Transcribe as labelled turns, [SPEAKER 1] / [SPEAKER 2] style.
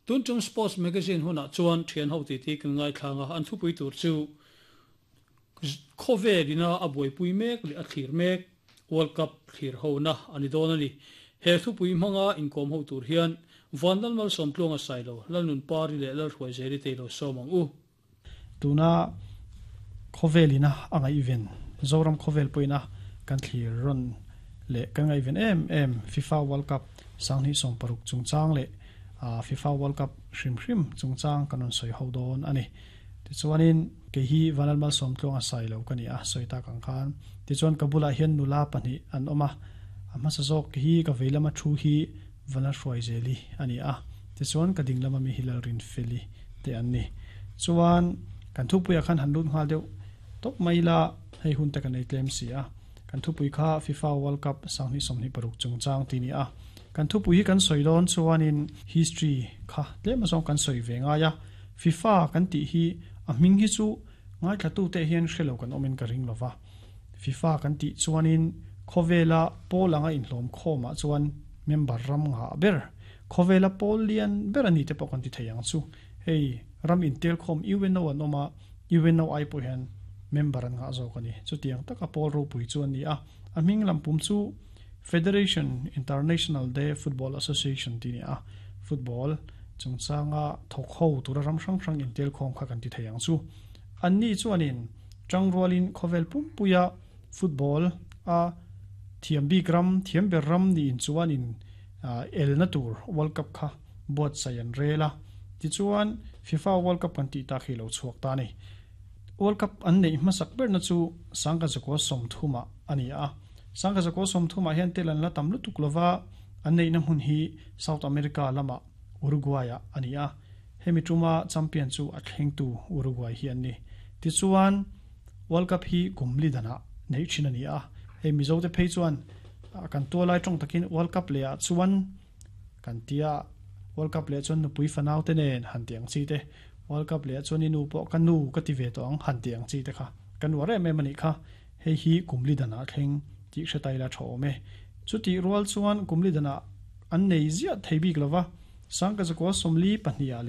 [SPEAKER 1] Tun tum Sports Magazine hunah chuan thian ho titi kan ngaithlang a, an thupui tur chu Khawvel ina a buaipui mek leh a thlir mek World Cup thlir hona a ni dawn a ni. He thupui hmanga inkawm ho tur hian Vanlal Malsawmtluanga Sailo, Lalnunpari leh Lalhruaizeli te ilo sawm ang u.
[SPEAKER 2] Tuna khawvel ina a ngaihven, Zoram khawvel pawhin a kan thlir rawn leh kan ngaihven em em FIFA World Cup 2016 chungchang leh FIFA World Cup hrim hrim chungchang kan rawn sawi ho dawn a ni. Tichuanin kei hi Vanlal Malsawmtluanga Sailo ka ni a, sawi tak ang khan. Tichuan ka bulah hian nula pahnih an awm a, a hmasa zawk hi ka vei lama thu hi Vanlal Hruaizeli a ni a, tichuan ka ding lama mi hi Lalrinfeli te an ni. Chuan kan thupuiah khan han lut nghal deuh tawp mai ila, hei hun te kan ei tlem si a. Kan thupui kha FIFA World Cup 2026 chungchang tih ni a. Kan thupui hi kan sawi dawn chuanin history kha tlem azawng kan sawi ve ngai a. FIFA kan tih hi a hming hi chu ngaithlatute hian hre lo kan awmin ka ring lova. FIFA kan tih chuanin khawvela pawl anga inhlawm khawmah chuan member ram ngah ber, khawvela pawl lian ber a ni te pawh kan ti thei ang chu. Hei ram intelkhawm UNO an awm a, UNO ai pawh hian member an ngah zawk a ni. Chutiang taka pawl ropui chu a ni a. A hming lampum chu Federation International de Football Association tih a ni a. Football chungchanga thawk ho tura ram hrang hrang intelkhawm kha kan ti thei ang chu. Anni chuanin tangrualin khawvel pumpuia football a thiam bik ram, thiam ber ram niin chuanin elna tur World Cup kha buatsaih an rel a. Tichuan FIFA World Cup kan tih tak hi lo chhuak ta a ni. World Cup an neih hmasak berna chu Sangha Zakua sawmthumah a ni a. Sangha Zakua sawmthumah hian tel an la tam lutuk lova, an neihna hmun hi South America lamah Uruguay-ah a ni a. Hemi tuma champion chu a thlengtu Uruguay hi an ni. Tichuan World Cup hi kum li danah neih thin a ni a. Hei Mizote phei chuan kan tualai tawng takin World Cup lehah chuan Kan tia World Cup leh chuan nupui fanau te nen han ti ang chi te, World Cup leh chuan i nu pawh ka nu ka ti ve tawh ang han ti ang chi te kha ka nuar em em a nih kha. Hei hi kum li danah thleng tih hre ta ila tha awm e. Chutih rual chuan kum li danah an nei ziah thei bik lova, Sangkazakua 42 ah leh.